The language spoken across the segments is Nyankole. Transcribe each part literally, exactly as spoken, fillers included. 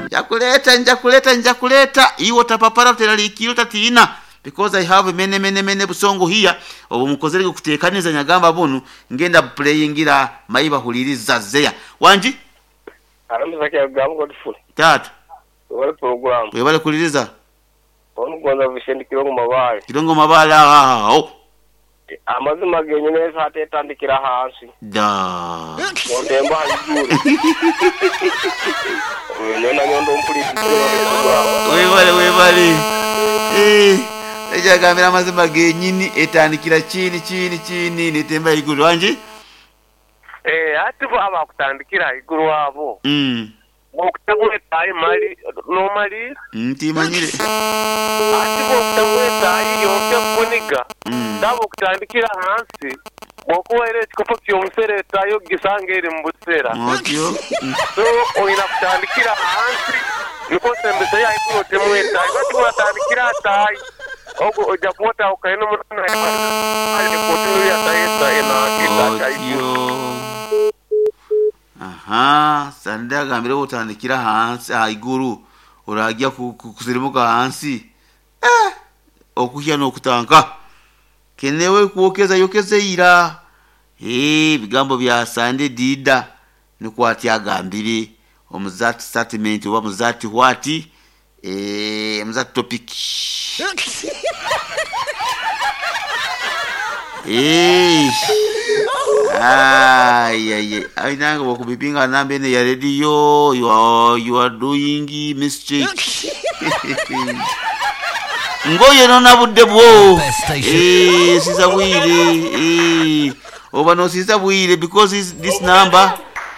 Njakuleeta, njakuleeta, njakuleeta. Iwe otapapara, oteraliikirira, otatiina, because I have many many many busongo here obu mukozere kuteekaniza. Nyagamba bunu ngenda playingira mayi bahuliriza zeya wangi. Arambiza kyagambo Godfrey. Taata. Webale program. Webale kuliriza. Onugonza Vicente Kirongo Mabale. Kirongo Mabale aho. Amazima genyine ate etandikira hansi. Da. Ntemba haiguru. Nyondo nyondo mpuli. Webale webale. Eh. Ejagambira amazima genyini etandikira chini chini chini netemba iguru wangi. Eh, ati bo abakutandikira iguru abo. Mm. Bokutagwetayi mali nomali. Ntimanyire. Ati bokutagwetayi yonke kuniga. Mm. Ndabo kutandikira hansi. Bokuwaire ekikopo ky'omusere etayo gisanga eri mu busera. Otyo. Mm. So oyina kutandikira hansi niko sembesa ya iguru otemwetayi. Bati watandikira atayi. Ogo ojja kuwota okaine omutana ali kotinu ya tayi ena ita Otyo. Aha, sande agambire otandikira hansi haiguru orajya ku- ku- kusirimuka hansi. Eh, okuhya n'okutanka. Kenewe kwokeza yokeze ira. Eh, bigambo bya Sande Dida nikwo ati agambire omuzati statement oba muzati what eh muzati topic. Eh. Ay, ay, ay. Ay, nange bwokubipinga namba eno ya radio, you are, you are doing mistake. Ngoye nona budde bwo. Best station. Eh, siza bwire. Eh, oba no siza bwire because this, this number,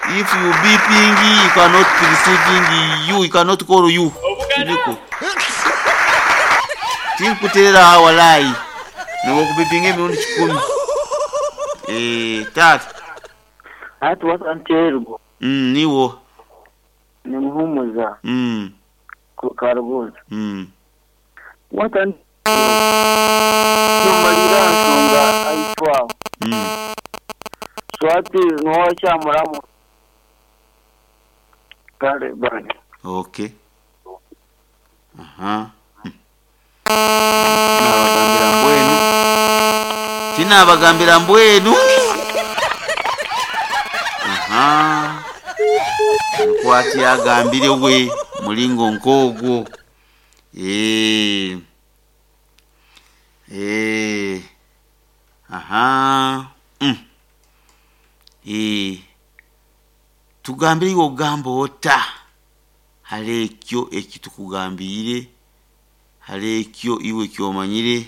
if you beeping, you cannot receiving you, you cannot call you. Niko. Tinkuterera hawalai. Nobokubipinga emirundi kikumi. Eh, tata. Ati wasanterwa. Mm, niwo. Nimuhumuza Mm, ku karubuza. mm. Watan numalira nsonga aitwa. Mm. Swati nuwakyamulamu. Kale bani. Okay. Aha. Mm. Nabagambira mbwenu. Tinabagambira mbwenu. Aha. Nkwati agambire we mulingo nkogwo. Eh. Eh. Aha. Mm. Eh. Tugambire iwe ogamba ota. Hali ekyo ekitukugambire, hali ekyo iwe kyomanyire.